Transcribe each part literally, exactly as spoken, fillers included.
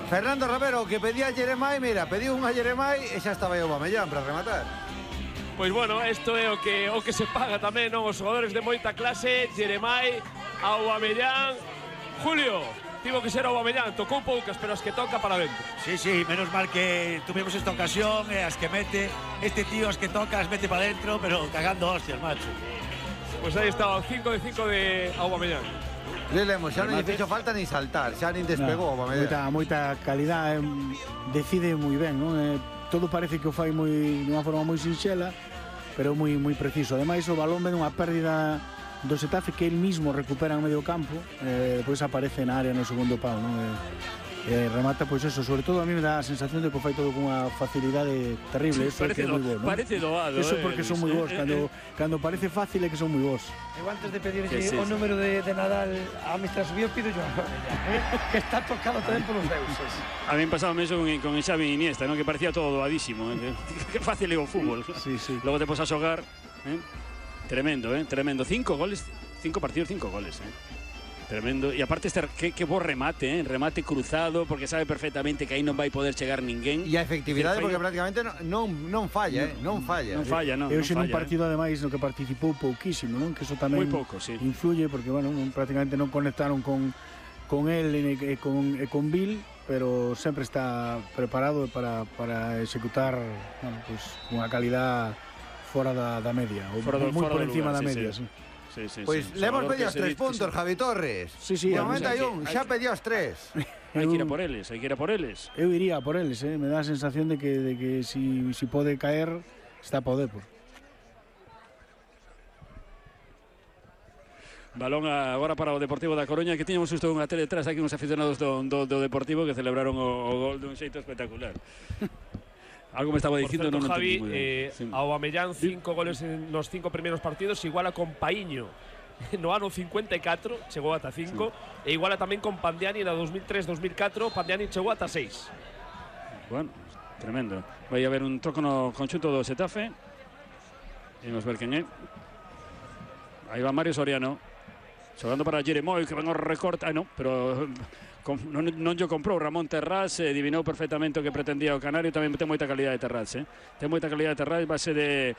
Fernando Romero, que pedía a Jeremai, mira, pediu un a Jeremai e xa estaba aí o Aubameyang para rematar. Pois bueno, isto é o que o que se paga tamén, non? Os xogadores de moita clase, Jeremai, Aubameyang. Julio, tivo que ser Aubameyang, tocou poucas, pero as que toca para dentro. Sí, sí, menos mal que tuvimos esta ocasión, e as que mete, este tío as que toca as mete para dentro, pero cagando hostias, macho. Pois aí está, cinco de cinco de Aubameyang. Lemos, xa non lle fixo falta ni saltar, xa nin despegou o Aubameyang. Moita, moita calidad, eh, decide moi ben, non? Eh, todo parece que o fai moi dunha forma moi sinxela, pero moi moi preciso. Ademais, o balón ven unha pérdida do Xetafe que el mismo recupera en medio campo, eh, depois aparece na área no segundo pau, non? Eh, eh, remata, pois eso, sobre todo a mí me dá a sensación de que o fai todo con unha facilidade terrible, eso é que é moi bo, non? Parece doado, eso eh, porque son moi bons, eh, cando, eh. cando parece fácil é que son moi bons. Eu antes de pedirlle sí, sí, o sí. número de, de Nadal a mister Subió, pido yo eh, que está tocado tamén polos deuses. A mí me pasaba eso con, con Xavi Iniesta, ¿no? Que parecía todo doadísimo, ¿eh? Que fácil é o fútbol. Sí, sí. Logo te pos a xogar, ¿eh? Tremendo, ¿eh? Tremendo. Cinco goles, cinco partidos, cinco goles, ¿eh? Tremendo. E aparte este que, que bo remate, eh? Remate cruzado, porque sabe perfectamente que aí non vai poder chegar ninguén. E a efectividade, porque prácticamente non, non falla, eh? Non falla. Non falla, non, Eu non xe nun falla, partido, ademais, no que participou pouquísimo, non? Que eso tamén moi pouco, sí. influye, porque, bueno, non, prácticamente non conectaron con, con él e, e, con, e con Bill, pero sempre está preparado para, para executar, bueno, pues, unha calidad fora da, da media, ou Fora do- moi fora por do encima lugar, da sí, media, sí. sí. Sí, sí, Pois sí. le hemos Xogador pedido que os se tres dice- puntos, Javi Torres. Sí, sí, De a mí momento hai hai que- un, hai xa que- pediu os tres. Hai que ir a por eles, hai que ir a por eles. Eu iría por eles, eh? Me dá a sensación de que, de que si, si pode caer, está a poder, por. Balón agora para o Deportivo da Coruña, que tiñamos justo unha tele detrás aquí uns aficionados do, do, do Deportivo que celebraron o, o gol dun xeito espectacular. Algo me estaba Por dicindo, certo, non Javi, entendí moi ben. eh, Sí. Aubameyang, cinco goles en los cinco primeiros partidos, iguala con Paíño no ano cincuenta e catro, chegou ata cinco, sí. E iguala tamén con Pandiani na dos mil tres dos mil catro, Pandiani chegou ata seis. Bueno, tremendo. Vai haber un troco no conxunto do Xetafe. Imos ver quen é. Aí va Mario Soriano, xogando para Jeremoi, que ven o recorte. Ah, non, pero con, non, non yo comprou Ramón Terrás, eh, adivinou perfectamente o que pretendía o Canario. Tamén ten moita calidade de Terrás, eh. Ten moita calidade de Terrás, base de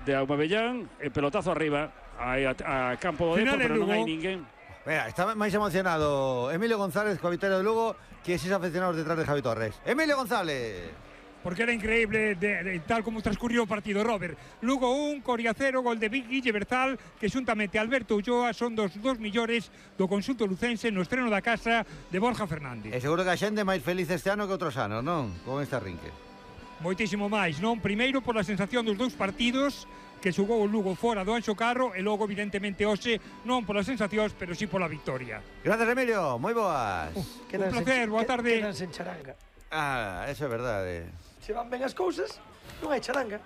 de Aubameyang, e pelotazo arriba aí a, a campo do Depor, pero non hai ninguén. Mira, está máis emocionado Emilio González coa vitória do Lugo que eses aficionados detrás de Javi Torres. Emilio González. Porque era increíble de, de, tal como transcurrió o partido, Robert. Lugo un, Coria cero, gol de Guille Berzal, que xuntamente Alberto Ulloa son dos dos millores do conxunto lucense no estreno da casa de Borja Fernández. E seguro que a xente é máis feliz este ano que outros anos, non? Con este arrinque. Moitísimo máis, non? Primeiro por a sensación dos dous partidos que xogou o Lugo fora do Anxo Carro, e logo evidentemente hoxe non polas sensacións, pero sí pola victoria. Gracias, Emilio, moi boas. Uh, un placer, boa tarde. Quedanse en charanga. Ah, eso é verdade. Se van ben as cousas, non hai charanga.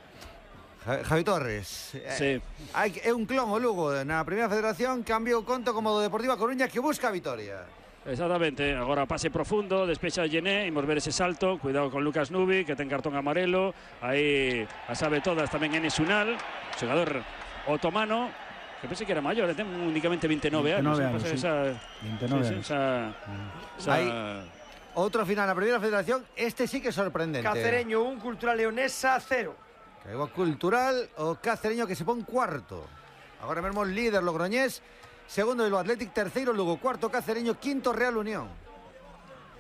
Javi Torres. Sí. Eh, hai, é un clon o Lugo na primeira federación, cambio o conto como do Deportivo a Coruña que busca a vitoria. Exactamente, agora pase profundo, despecha Gené, imos ver ese salto, cuidado con Lucas Nubi, que ten cartón amarelo, aí a sabe todas tamén Enes Unal, xogador otomano, que pensei que era maior, ten únicamente veintinueve anos, anos, sí. esa, veintinueve sí, anos. Esa, esa, Aí, outro final na primeira federación, este sí que é sorprendente. Cacereño un, Cultural Leonesa cero. Caigo Cultural, o Cacereño que se pon cuarto. Agora mesmo líder Logroñés, segundo Bilbao Athletic, terceiro Lugo, cuarto Cacereño, quinto Real Unión.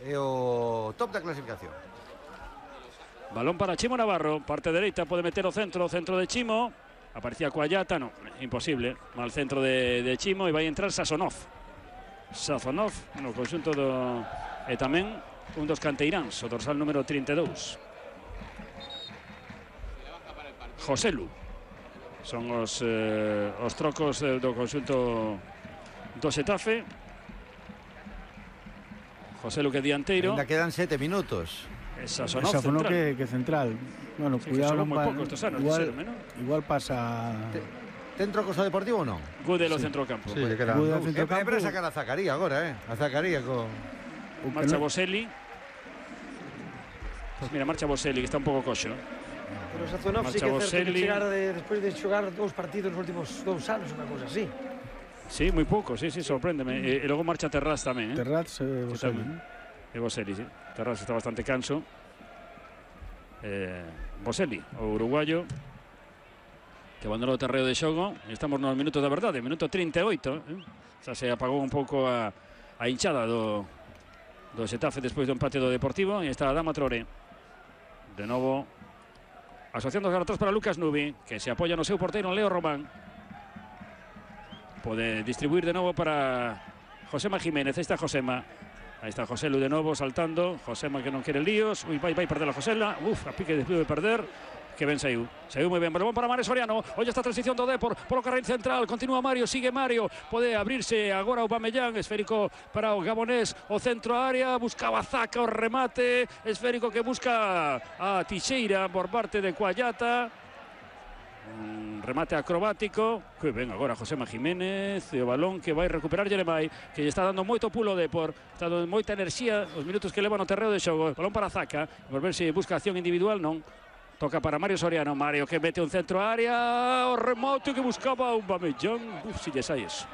E o top da clasificación. balón para Chimo Navarro, parte dereita, pode meter o centro, o centro de Chimo, aparecía Coallata, no, imposible, mal centro de, de Chimo, e vai entrar Sazonov. Sazonov, no conxunto do... e tamén un dos canteiráns, o dorsal número trinta e dous. Joselu. Son os, eh, os trocos eh, do conxunto do Xetafe. Joselu que dianteiro. Ainda quedan sete minutos. Esa Sazonov Sazonov central. que, que central. Bueno, Sí, cuidado, que non xogou moi va, pouco estes anos, igual, dixéronme, non? igual pasa... Ten trocos ao Deportivo ou non? Gudel o centrocampo. Sí, lle quedan Gudel ao dous. centrocampo. É para sacar a Zacaría agora, eh? A Zacaría con... Marcha Boselli. Pues mira, marcha Boselli, que está un pouco coxo. Pero Sazonov sí Marcha que é certo Boselli. que chegara de, despois de xogar dous partidos nos últimos dous anos, unha cousa así. Sí, moi pouco, sí, sí, sorpréndeme. E, e logo marcha Terraz tamén, eh? Terraz e Sí, Boselli. tamén. E Boselli, sí. Terraz está bastante canso. Eh, Boselli, o uruguayo, que abandonou o terreo de xogo. Estamos nos minutos da verdade, minuto trinta e oito. Eh? Xa se apagou un pouco a, a hinchada do, do Xetafe despois do empate do Deportivo. E está a Adama Traoré. De novo, asociando os atrás para Lucas Nubi, que se apoia no seu porteiro Leo Román. Pode distribuir de novo para Josema Jiménez. Aí está Josema. Aí está Joselu de novo saltando. Josema que non quere líos. Ui, vai, vai perder a Josela. Uf, a pique de perder. Que ben saiu. Saiu moi ben. Balón para Mario Soriano. Oye esta transición do Depor polo carril central. Continúa Mario, sigue Mario. Pode abrirse agora o Aubameyang. Esférico para o gabonés. O centro área. Buscaba Zaka o remate. Esférico que busca a Tixeira por parte de Cuallata. Un remate acrobático. Que ben agora Josema Jiménez. E o balón que vai recuperar Jeremai, que lle está dando moito pulo Depor. Está dando moita enerxía os minutos que leva no terreo de xogo. Balón para Zaka. Por ver se busca acción individual. Non. Toca para Mario Soriano. Mario que mete un centro área. O remate que buscaba un Aubameyang. Uf, si lle sai eso.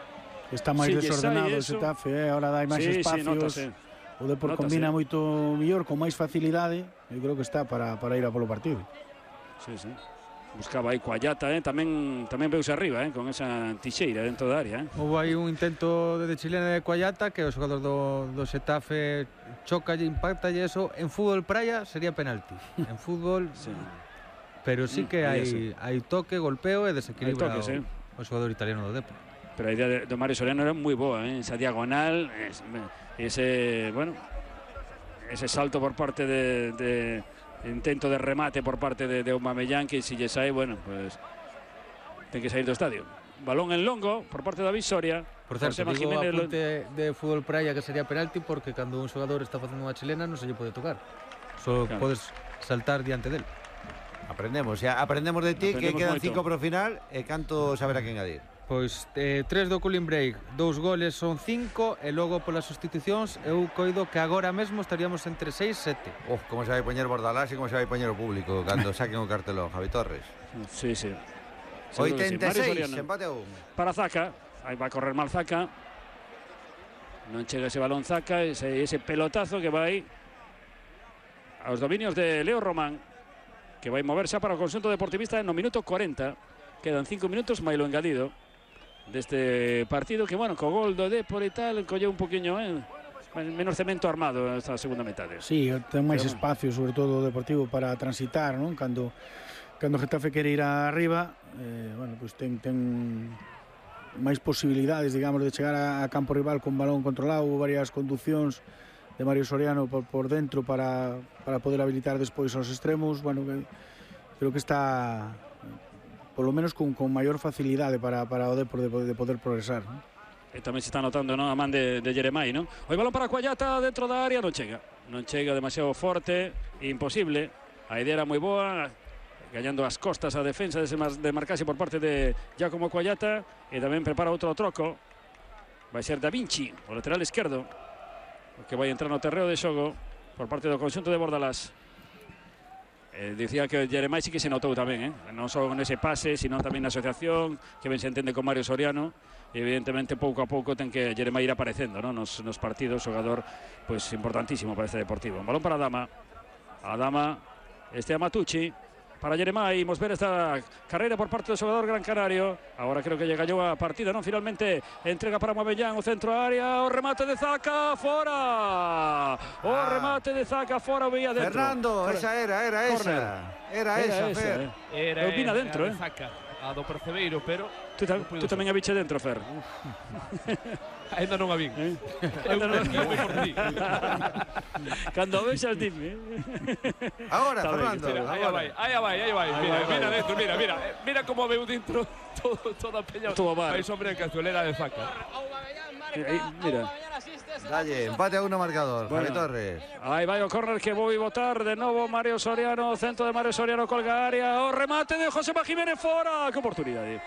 Está máis si desordenado o Xetafe, eh? Ahora dai máis sí, espacios. Sí, o Depor combina moito mellor, con máis facilidade. Eu creo que está para, para ir a polo partido. Sí, sí. Buscaba aí Cuallata, eh? tamén tamén veuse arriba, eh? con esa Tixeira dentro da área. Eh? Houve aí un intento de chilena de Cuallata que o xogador do, do Xetafe choca e impacta e eso en fútbol praia sería penalti. En fútbol, sí. Pero sí que hai, sí. hai toque, golpeo e desequilibra toque, sí. o, o xogador italiano do Depor. Pero a idea de, de Mario Soriano era moi boa, eh? esa diagonal, ese, bueno, ese salto por parte de... de intento de remate por parte de, de Aubameyang, que si lle sai, bueno, pues ten que sair do estadio. Balón en longo por parte de David Soria. Por certo, digo Jiménez apunte lo... de fútbol praia que sería penalti porque cando un xogador está facendo unha chilena non se lle pode tocar. Só claro. Podes saltar diante del. Aprendemos, xa aprendemos de ti, aprendemos que quedan moito. Cinco pro final e canto saber a quen adir. Pois eh, tres do cooling break, dous goles son cinco e logo polas sustitucións eu coido que agora mesmo estaríamos entre seis e sete. Oh, como se vai poñer Bordalás e como se vai poñer o público cando saquen o cartelón, Javi Torres. Sí, sí. oitenta e seis, sí. Empate a un. Para Zaka, aí vai correr mal Zaka. Non chega ese balón Zaka, ese, ese pelotazo que vai aos dominios de Leo Román, que vai mover xa para o conxunto deportivista no minuto cuarenta. Quedan cinco minutos, máis lo engadido deste partido que, bueno, co gol do Depor e tal, colleu un poquinho, eh, menos cemento armado esta segunda metade. Sí, ten máis Pero, espacio, sobre todo o Deportivo, para transitar, non? Cando, cando Getafe quere ir arriba, eh, bueno, pues ten, ten máis posibilidades, digamos, de chegar a, a campo rival con balón controlado, varias conducións de Mario Soriano por, por dentro para, para poder habilitar despois aos extremos. Bueno, que, creo que está... polo menos con, con maior facilidade para, para o Depor de, de poder progresar, ¿no? E tamén se está notando, ¿no? A man de, de Jeremai, ¿no? O balón para Cuallata dentro da área, non chega. Non chega, demasiado forte, imposible. A idea era moi boa, gañando as costas a defensa de, de marcase por parte de Giacomo Cuallata, e tamén prepara outro troco. Vai ser Da Vinci, o lateral esquerdo, que vai entrar no terreo de xogo por parte do conxunto de Bordalás. Eh, dicía que Jeremai sí que se notou tamén, eh? non só nese pase, sino tamén na asociación, que ben se entende con Mario Soriano. E evidentemente pouco a pouco ten que Jeremai ir aparecendo, ¿no? nos, nos partidos, xogador pues, importantísimo para este Deportivo. Un balón para Adama, Adama, este Amatucci, para Jeremai. Imos ver esta carreira por parte do xogador gran canario. Agora creo que lle gallou a partida, non? Finalmente entrega para Aubameyang, o centro área, o remate de Zaka, fora! O ah. remate de Zaka, fora, veía dentro. Fernando, fora. Esa era, era esa. Era, era esa, esa, Fer. Eh. Era, opina dentro, eh? Zaka, a do Percebeiro, pero... Tú, ta, tú tamén a biche dentro, Fer. Ainda non a vin. Eh? Ainda non a vin. Cando vexas, dime. Agora, Fernando. Aí vai, aí vai, aí vai. Mira, mira dentro, mira, mira. Mira como veu dentro todo, toda a peña. Todo mal. Vai sobre a cazuelera de Zaka. Aí, mira. Dalle, empate a uno marcador, bueno. Javi Torres. Aí vai o córner que vou botar de novo Mario Soriano, centro de Mario Soriano, colga área, o remate de Josema Jiménez fora, que oportunidade.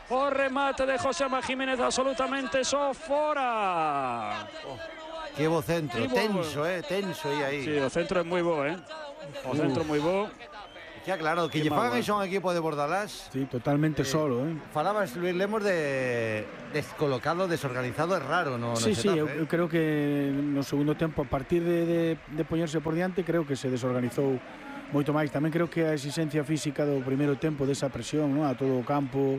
O remate de Josema Jiménez absolutamente só fora. Oh, que bo centro, tenso, eh, tenso aí aí. Sí, o centro é moi bo, eh. O centro uh. moi bo. Que claro, que lle fan iso a un equipo de Bordalás. Sí, totalmente eh, solo, eh. Falabas, Luis Lemos, de descolocado, desorganizado, é raro, no, Sí, no sí, Xetafe, eu, eh? eu creo que no segundo tempo, a partir de, de, de poñerse por diante, creo que se desorganizou moito máis. Tamén creo que a exigencia física do primeiro tempo, desa presión, non, a todo o campo,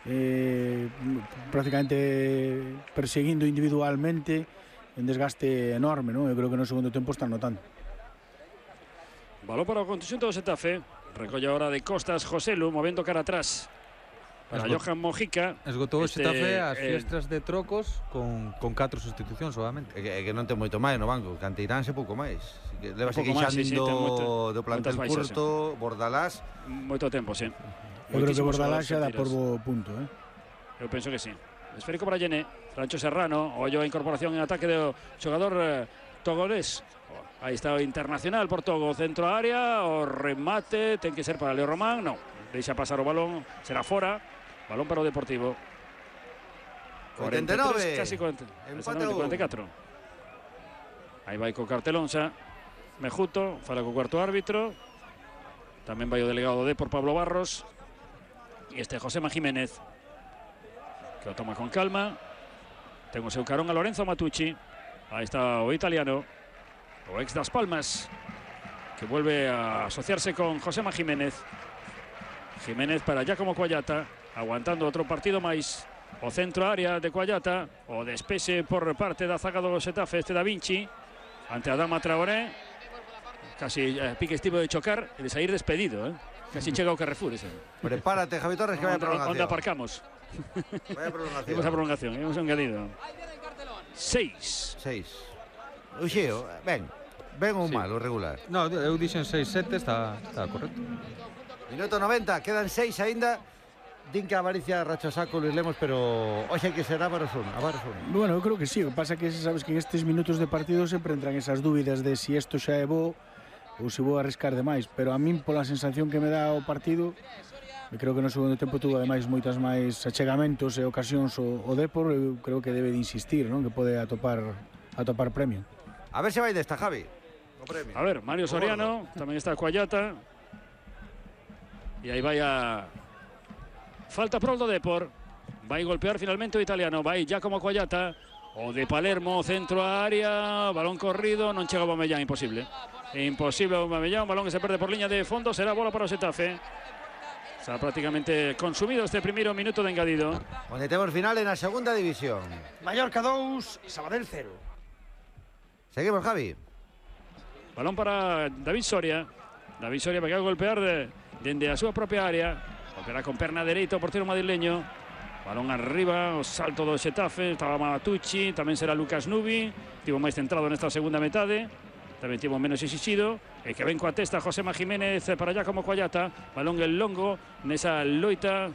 eh, prácticamente perseguindo individualmente, un desgaste enorme, non? Eu creo que no segundo tempo están notando. Balón para o conxunto do Xetafe. Recolle ahora de costas Joselu, movendo cara atrás para Esgot... Johan Mojica. Esgotou o este, Xetafe as eh, fiestras de trocos con, con catro sustitucións, obviamente. É que, é que non ten moito máis no banco, Canteiránse pouco máis. Así que leva se pouco máis, sí, sí, ten moito- do plantel moitas baixas, curto, Bordalás. Moito tempo, sí. Eu creo que Moitísimos Bordalás xa dá xogadores por sentidos. bo punto, eh. Eu penso que sí. Esférico para Llené, Francho Serrano, ollo a incorporación en ataque do xogador eh, togolés. Aí está o internacional por Togo, centro a área, o remate ten que ser para Leo Román, non, deixa pasar o balón, será fora, balón para o Deportivo. oitenta e nove. Casi cuarenta, Empate a un. cuarenta e catro. Aí vai co cartelón xa Mejuto, fala co cuarto árbitro. Tamén vai o delegado de por Pablo Barros. E este Josema Jiménez, que o toma con calma. Ten o seu carón a Lorenzo Matucci. Aí está o italiano, o ex das Palmas, que vuelve a asociarse con Josema Jiménez. Jiménez para Giacomo Cuallata, aguantando outro partido máis. O centro área de Cuallata, o despexe por parte da zaga do Xetafe, este Da Vinci, ante Adama Traoré. Casi eh, pique estivo de chocar e de sair despedido, eh? Casi chega ao Carrefour ese. Prepárate, Javi Torres, que vai a prolongación. Onde aparcamos? Vai a prolongación. Imos a prolongación, imos a engadido. Seis. Seis. Uxeo, ben. Ben ou Sí. mal, o regular. No, eu dixen seis sete, está, está correcto. Minuto noventa, quedan seis aínda. Din que a avaricia racha saco Luis Lemos, pero hoxe que será para un, a varos un. Bueno, eu creo que sí, o que pasa que sabes que en estes minutos de partido sempre entran esas dúbidas de si isto xa é bo ou se vou arriscar demais, pero a min pola sensación que me dá o partido, eu creo que no segundo tempo tuvo ademais moitas máis achegamentos e ocasións o, o Depor, eu creo que debe de insistir, non? Que pode atopar atopar premio. A ver se vai desta, Javi. O premio. A ver, Mario Soriano, tamén está Cuallata. E aí vai a... Falta pro do Depor. Vai golpear finalmente o italiano. Vai Giacomo Cuallata. O de Palermo, centro a área. Balón corrido, non chega o Aubameyang, imposible. Imposible o Aubameyang, balón que se perde por liña de fondo. Será bola para o Xetafe. Está prácticamente consumido este primeiro minuto de engadido. Onde temos final en a segunda división. Mallorca dous, Sabadell cero. Seguimos, Javi. Balón para David Soria. David Soria vai a golpear de, dende a súa propia área. Golpeará con perna dereita o portero madrileño. Balón arriba, o salto do Xetafe. Estaba Matucci, tamén será Lucas Nubi. Tivo máis centrado nesta segunda metade. Tamén tivo menos exixido. E que ven coa testa Josema Jiménez para allá como Cuallata. Balón el longo nesa loita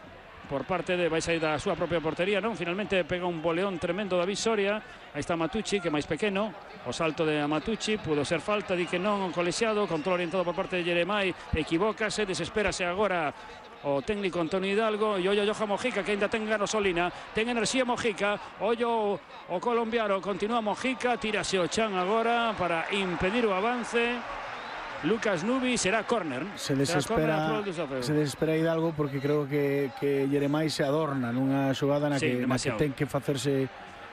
por parte de... Vai sair da súa propia portería, non? Finalmente pega un boleón tremendo David Soria. Aí está Matucci, que é máis pequeno. O salto de Matucci, pudo ser falta, di que non, colexiado. Control orientado por parte de Jeremai. Equivócase, desespérase agora o técnico Antonio Hidalgo. E ollo Johan Mojica, que ainda ten gasolina, ten enerxía Mojica. Ollo o colombiano, continúa Mojica, tírase o chan agora para impedir o avance. Lucas Nubi, será córner. Se desespera, se desespera Hidalgo porque creo que, que Jeremai se adorna nunha xogada na, Sí, que, na que ten que facerse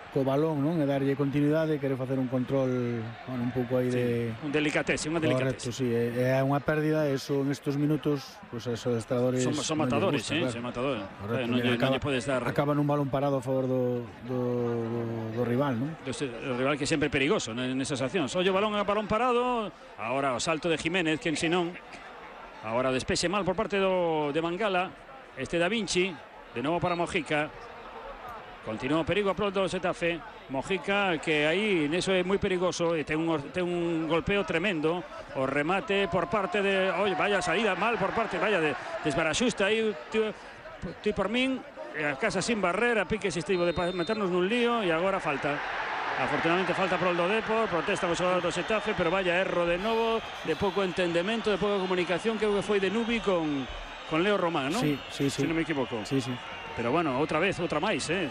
co balón, non? E darlle continuidade, quere facer un control, bueno, un pouco aí de... Sí, un delicatese, unha Correcto, delicatese. sí, é, é unha pérdida, eso en estos minutos, pues esos adestradores... Son, son matadores, gusta, eh, claro. Son matadores. Correcto, eh, non, lle, acaba, non lle podes dar... Acaba nun balón parado a favor do, do, do, do rival, non? O rival que é sempre perigoso nesas accións. Ollo balón a balón parado, agora o salto de Jiménez, que en senón, agora despexe mal por parte do, de Mangala, este Da Vinci, de novo para Mojica. Continúa o perigo a pronto do Xetafe. Mojica, que aí neso é moi perigoso e ten un, ten un golpeo tremendo. O remate por parte de... Oye, vaya salida mal por parte, vaya, de desbaraxusta aí, ti por min, a casa sin barrera, pique se estivo de meternos nun lío e agora falta. Afortunadamente falta pro do Depor, protesta o xogador do Xetafe, pero vaya erro de novo, de pouco entendemento, de pouca comunicación, que foi de Nubi con, con Leo Román, non? Sí, sí, sí. Se non me equivoco. Sí, sí. Pero bueno, outra vez, outra máis, eh?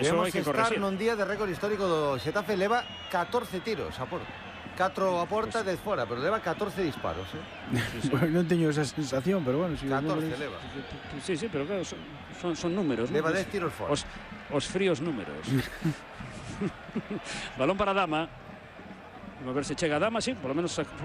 Eso hai que corregir. Debemos estar nun día de récord histórico do Xetafe, leva catorce tiros a porta. catro a porta e dez fora, pero leva catorce disparos, eh? Sí, sí. Bueno, non teño esa sensación, pero bueno, si catorce leva. Sí, sí, pero claro, son, son, son números. Leva ¿no? dez tiros fora. Os, os fríos números. Balón para Dama. A ver se chega a Dama, sí, por lo menos